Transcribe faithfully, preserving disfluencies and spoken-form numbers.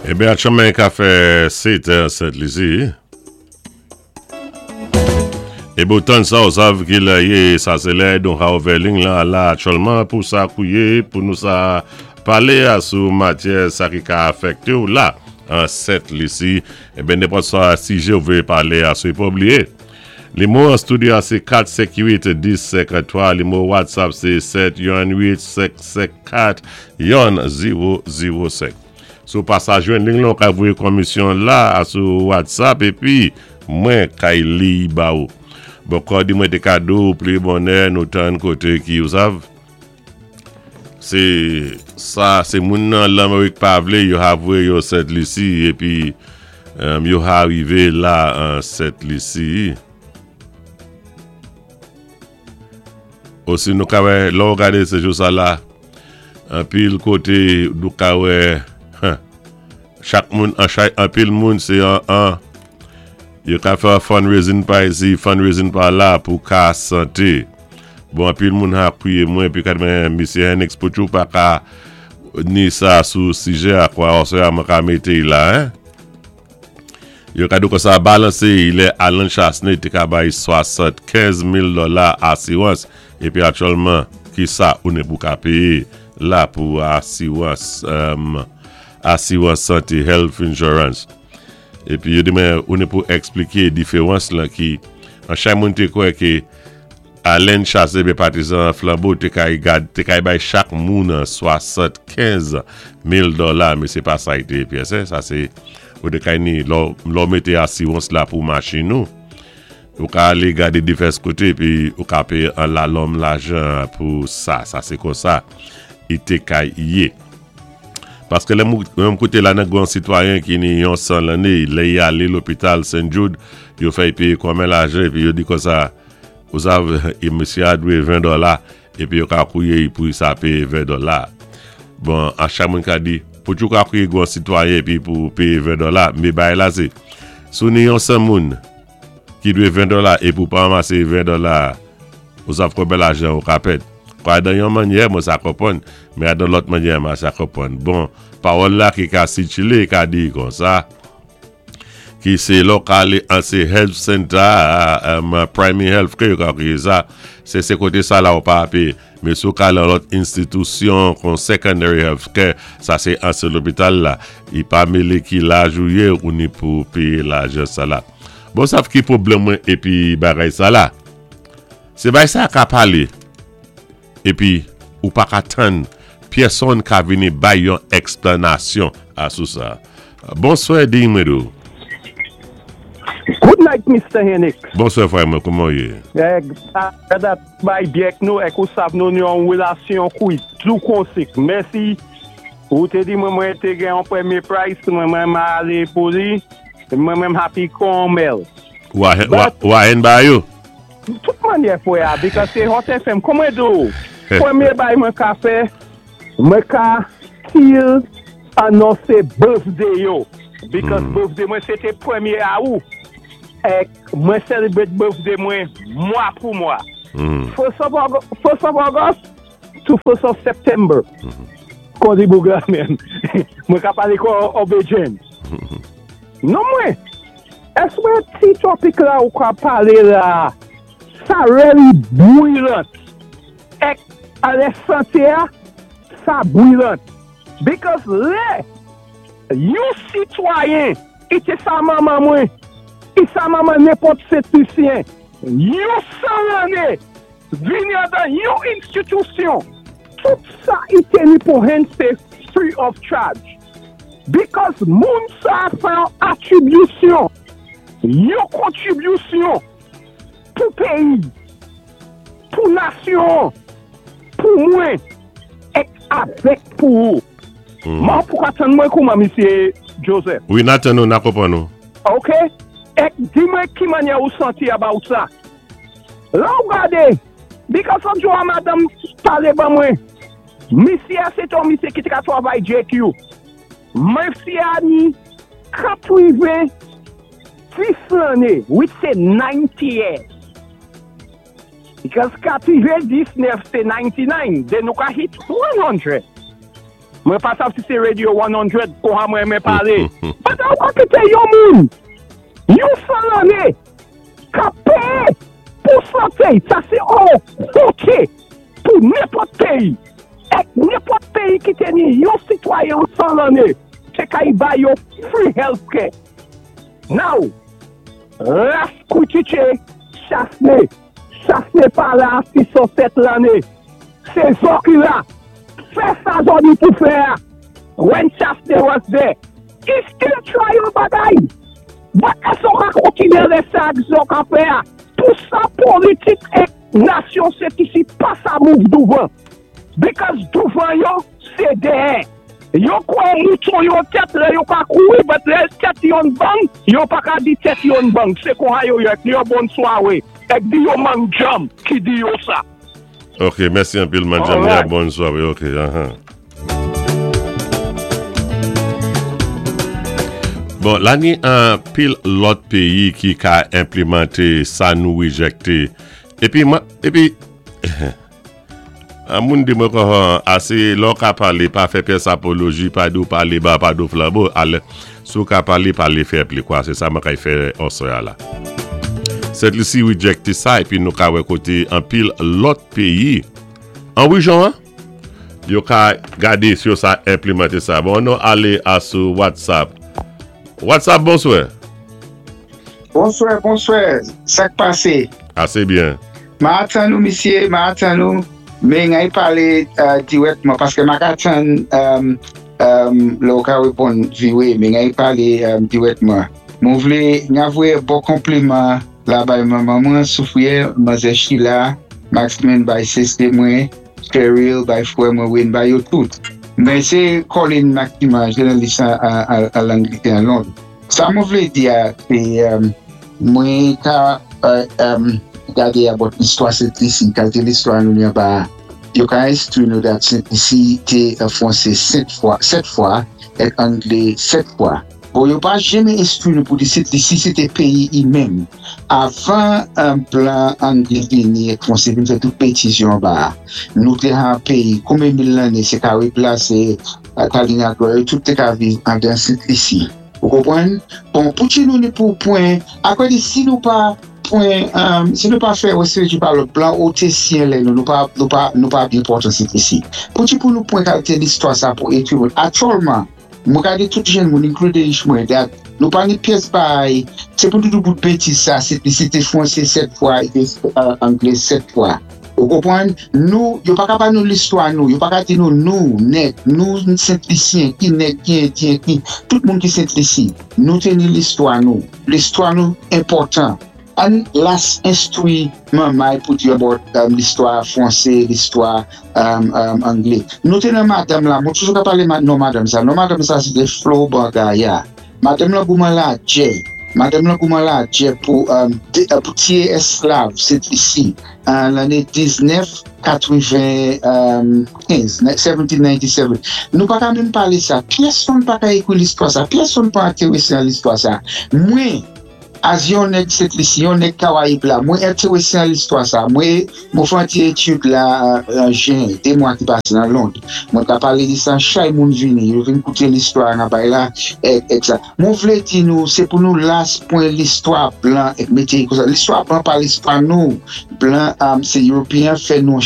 Ében, aktyèlman ka fè sèt è Sent Lisi. Ében, tan sa, ou sav ki lè yé, sa sé lè, donk a ouvè liy la, la, aktyèlman, pou sa kouwé, pou nou sa palé a sou matyè sa ki ka afèkté ou la, an Sent Lisi. Ében, nenpòt sa sijè ou vlé palé a sou, pa bliyé. Nimewo an studio a sé kat senk uit dis senkantwa, nimewo WhatsApp sé sèt youn uit senk senk kat youn zewo zewo senk. Sou pa sa jwenn liy lan, ka voyé komisyon la sou WhatsApp épi mwen kay li ba ou. Bon, kon di mwen té kado pli bonè nou tan koté ki ou sav. Sé sa, sé moun nan Lamérik pa vlé, yo ha voyé yo Sent Lisi épi um, yo ha arivé la an Sent Lisi. Osi nou ka wè, lò ou gadé sé jou sa la, anpil koté nou ka wè, chak moun, an chay, anpil moun sé an, an, yo ka fè fundraising pa isi, fundraising pa la pou ka santé. Bon, anpil moun ha kwiyé mwen, pi kat mwen, Misye Henix Pochou pa ka ni sa sou sijè a kwa, osè a mwen ka mété la, hein? Yo ka dou kon sa balansé, lè Allen Chastanet té ka bay swasannkenz mil dola asirans, épi aktyèlman, ki sa ou ni pou ka péyé la pou asirans, um, asirans santé, health insurance. Épi yo di mwen, ou ni pou ekspliké diféwans la ki, an chay moun té kwè ki Allen Chastanet bé patizan Flambeau té kay gad, té kay bay chak moun swasannkenz mil dola, mé sé pa sa i té pyès, sa sé, ou té kay ni, lò, lò mété asirans la pou machin nou. Ou ka alé gadé divès koté, pi ou ka péyé an lalòm lajan pou sa, sa sé kon sa, i té kay yé. Paské lè mou, mwen kouté la nan gwan sitwayen ki ni yon san lanné, lè y alé lopital Saint Jude, yo fè y péyé konmen lajan, épi yo di kon sa, ou sav, e msye a dwé ven dola, épi yo ka kouwé pou sa péyé ven dola. Bon, a chak moun ka di, pou tjou ka kouwé gwan sitwayen épi pou péyé ven dola, mé bay la sé, sou ni yon san moun ki dwé ven dola, é pou pa anmasé ven dola, ou sav konben lajan ou ka pèd. Kwa dan yon mannyè, mwen sa konpwann, mé dan lòt mannyè, mwen sa konpwann. Bon, pawòl la ki ka sikilé, ka di kon sa, ki sé lokal an sé health center, um, primary health care, ka kriye sa, sé sé koté sa la ou pa péyé. Mé sou ka lan lòt enstitisyon kon secondary health care, sa sé an sé lopital la, i pa mélé ki laj ou yé ou ni pou péyé lajan sa la. Bon, sav ki pwoblèm mwen épi bagay sa la. Sé bay sa ka palé, épi ou pa ka tann, pyèsonn ka vini bay yon eksplanasyon a sou sa. Bonswè, di mwen dou. Good night, Mister Henix. Bonswè, frè mwen, kouman yé? Eh, dat bay byek nou, ek ou sav nou nou an relasyon kouy, tou konsik. Mèsi. Ou té di mwen mwen té gen an premyé price, mwen mwen ma alé pou li, mwen mwen happy kon mel. Ou a, ou a en ba yo? Tout mannyè fwe a, because se Hot F M, kouman do? Premyé bay mwen ka fè, mwen ka til anonsé birthday yo. Because Mm. birthday mwen sé té premyé Awou. Ek mwen celebrate birthday mwen mwa pou mwa. Mm. First of August, first of August to first of September. Kon di boug la men. Mwen ka pale kon Obe James. Non mwen, es mwen ti topic la ou ka pale la, sa really brilliant. Ek, ale sante a, sa brilliant. Because lè, yon sitwayen, ite sa maman mwen, i sa maman nenpòt Sent Lisyen, yon san lanné, vini dan yon enstitisyon, tout sa ite ni pou hen sé free of charge. Because moun sa fè an atribisyon, yon kontribisyon pou péyi, pou nasyon, pou mwen, ek avèk pou ou. Mm. Man pou ka tann mwen kouman, Misye Joseph? Wi, na tann nou, na konpwann nou. Ok? Ek di mwen ki mannyè ou santi about sa. La ou gade, because of jo a madame pale ba mwen, misye a sé ton misye ki te ka travay J Q. Misye a ni katreven dis lanné, which sé ninety years. Because katreven dis nèf sé ninety-nine, then nou ka hit one hundred. Mwen pa sav si sé Radio san, kon ha mwen mwen palé. But ou ka kité yon moun, yon san lanné, ka péyé pou santé, sa sé on honté pou nenpòt péyi. Èk nenpòt péyi ki té ni yon sitwayen san lanné, sé kay bay yo free healthcare. Now, Ras Koutiche, Chastanet, Chastanet pa la sis san sèt lanné. Sé zò ki la. Fè sa zò ni pou fè. When Chastanet was there, he still try yon bagay. But èske ka kontiné lè sa zò ka fè? Tou sa politik èk nasyon sé isi pa sa move douvan. Because douvan yo, sé dèyè. Yo kwè mouton yon tèt lè yo ka kouri, but lè tèt yon bang, yo pa ka di tèt yon bang. Sé kon ha yo yèk, yo bon swawé. Èk di yo Manjam ki di yo sa. Ok, mèsi anpil, Manjam. Alright. Ya bon swawé, ok. Aha. Bon, la ni an pil lòt péyi ki ka enplimanté sa nou rejecté. Épi mwen, épi, an moun di mwen kon, asé lò ka palé, pa fè pyès apoloji, pa dou palé ba, pa dou flambo, alè, sou ka palé, palé fè pli kwa, sé sa mwen kay fè osè a la. Sent Lisi rejecté sa, épi nou ka wè koté an pil lòt péyi. An wi, Jean, yo ka gadé si yo sa enplimanté sa. Bon, nou alé a sou WhatsApp. WhatsApp, bonswè. Bonswè, bonswè. Sak pasé? Asé byen. Ma atan nou, misyé, ma atan nou, men ngay palé uh, dirèkman, paské ma ka atan um, um, lè ou ka wéponn viwé, men ngay palé um, dirèkman. Mwen vlé, nga voyé bon konpliman la bay manman mwen, Soufrière, manzè Sheila, Maxman bay sisté mwen, Cheryl bay fwè mwen Wayne bay yo tout. Men sé Colin Maxima, jounalis an, an, an Langletè an Lond. Sa mwen vlé di a, sé um, mwen ka uh, um, gadé about listwa Sent Lisi, kalité listwa nou ni ba, yo ka enstwi nou dat Sent Lisi té uh, Fwansé sèt fwa, sèt fwa, èk Anglé sèt fwa. Bon, yo pa janmé enstwi nou pou di Sent Lisi sé té péyi i menm. Avan un blan Anglé vini èk Fwansé vin fè tout bétiz yo ba, nou té an péyi, konbyen mil lanné, sé Karib la, sé Kalinago, yo tout té ka viv an dan Sent Lisi. Ou konpwann? Bon, pou ti nou ni pou pwen, akwa di si nou pa pwen, um, si nou pa fè wè pa lòt blan ou té siyen lè nou, nou pa, nou pa, nou pa byen pòtan Sent Lisi. Pou ti pou nou pwen kalité listwa sa pou ekri moun. Aktyèlman, mwen gade tout jenn moun, including mwen, dat nou pa ni pyès bay, sé pou tout bout bétiz sa, sé té Fwansé sèt fwa, té uh, Anglé sèt fwa. Ou konpwann? Nou, yo pa ka ba nou listwa nou, yo pa ka di nou nou, nèg, nou Sent Lisyen, ki nèg, ki Endyen, ki, tout moun ki Sent Lisi, nou té ni listwa nou. Listwa nou enpòtan. An las enstwi manmay pou di about um, listwa Fwansé, listwa um, um, Anglé. Nou té nan madanm la, mwen toujou ka palé ma, non madanm sa, non madanm sa sé té Flo Bangaya. Madanm la goumen la djè, madanm la goumen la djè pou, um, dé, uh, pou tiyé esklav Sent Lisi an lanné diznèf katwenn-kenz, mil sèt san nonannsèt. Nou pa ka menm palé sa, pèsonn pa ka ékwi listwa sa, pèsonn pa entéwésé an listwa sa. Mwen, as yon nèg Sent Lisi, yon nèg Karayib la, mwen entéwésé an listwa sa, mwen mwen fè an ti étud la an jen, dé mwa ki pasé nan Lond. Mwen ka palé di sa, chay moun vini, yo vin kouté listwa an bay la, èk, èk sa. Mwen vlé di nou, sé pou nou las pwen listwa blan, èk mété kon sa. Listwa blan pa listwa nou, blan, um, sé European fè nou